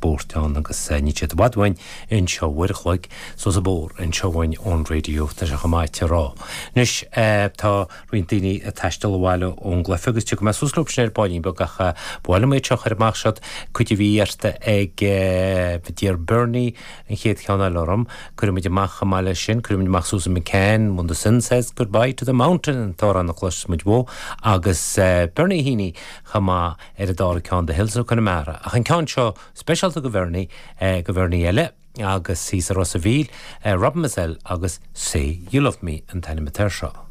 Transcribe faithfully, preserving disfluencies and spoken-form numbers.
spóirt ann agus níl siad i bhfad uainn anseo uair a chloig suas an bóthar anseo uainn ón raidió tá sé chomh maith a rá. Anois tá roinnt daoine ag taisteal abhaile ón gcluiche agus tiocfaidh mé suas leo sin ar baillín beag ach bhuail mé seo chuir amach siad cuid a bhí iarrta ag Dear Bernie an chéad cheann eile orm, cuirfimid amach chomh maith leis sin, cuirfimid amach Susan McCann, when the sun says goodbye to the mountain an t-amhrán a chloisfimid uaidh agus Bernie Heaney chomh maith ar an dara ceann The Hills of Connemara. Ach an ceann seo speisialta go Bernie go Bernie eile agus thíos i Ros an Mhíl, Robin Mazel agus Say You Love Me an t-ainm atá air seo.